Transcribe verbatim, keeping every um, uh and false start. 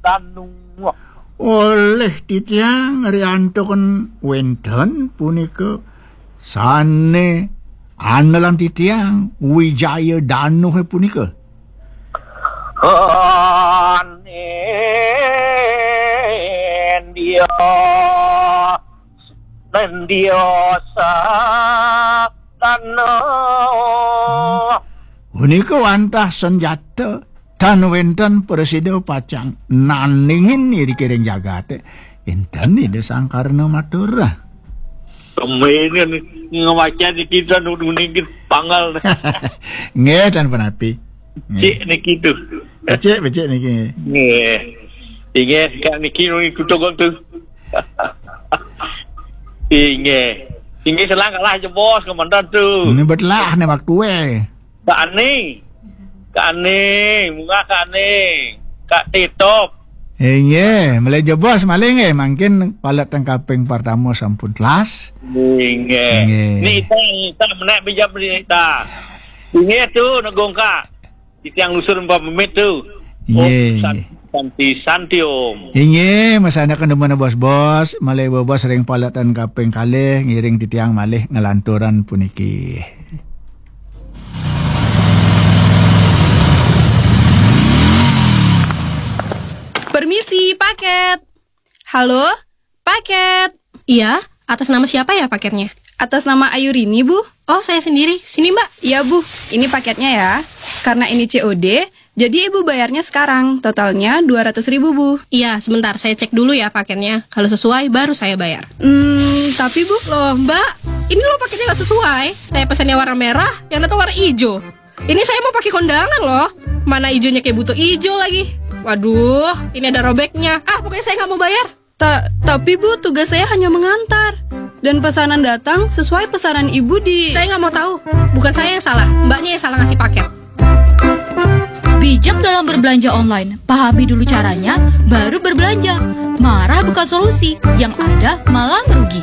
Danu. Oleh titiang riantukan wénten punika sané anelan titiang Wijaya Danuh punika. Anen dia, nen dia sa Danuh. Punika wantah senjata tan wénten prasida pacang nandingin irikiring jagaté. Énten Ida Sang Karna matur. Kemudian ngemaca niki dan niki panggal. Nggih, tan punapi. Nggih. Cik niki tuh. Becik, becik niki. Nggih. Inggih, kak niki niki tuh. Inggih. Inggih, selang kalah jebos komandan tuh. Ini betelah nih waktu eh. Kak Ani. Kak Ani, munggah Kak Ani. Kak Titop. Inggih, malih jebos malih nggih, mangkin palet teng kaping pertama sampun telas. Inggih. Inggih. Nita, nita menek bijak nita. Inggih tuh negong kak. Titiang lusur pamit tuh. Inggih, Om Santi, inggih. Santi, Santi, Om. Inggih, masana kena mana bos-bos, malih bos ring paletan kaping kalih ngiring titiang malih ngelanturan puniki. Permisi, paket. Halo, paket. Iya, atas nama siapa ya paketnya? Atas nama Ayurini, Bu. Oh, saya sendiri. Sini, Mbak. Iya, Bu. Ini paketnya ya. Karena ini C O D, jadi Ibu bayarnya sekarang. Totalnya dua ratus ribu, Bu. Iya, sebentar. Saya cek dulu ya paketnya. Kalau sesuai, baru saya bayar. Hmm, tapi, Bu. Loh, Mbak. Ini loh paketnya nggak sesuai. Saya pesannya warna merah, yang datang warna hijau. Ini saya mau pakai kondangan loh. Mana hijaunya kayak buto hijau lagi. Waduh, ini ada robeknya. Ah, pokoknya saya nggak mau bayar. Ta- tapi Bu, tugas saya hanya mengantar. Dan pesanan datang sesuai pesanan Ibu di... Saya nggak mau tahu. Bukan saya yang salah. Mbaknya yang salah ngasih paket. Bijak dalam berbelanja online. Pahami dulu caranya, baru berbelanja. Marah bukan solusi, yang ada malah merugi.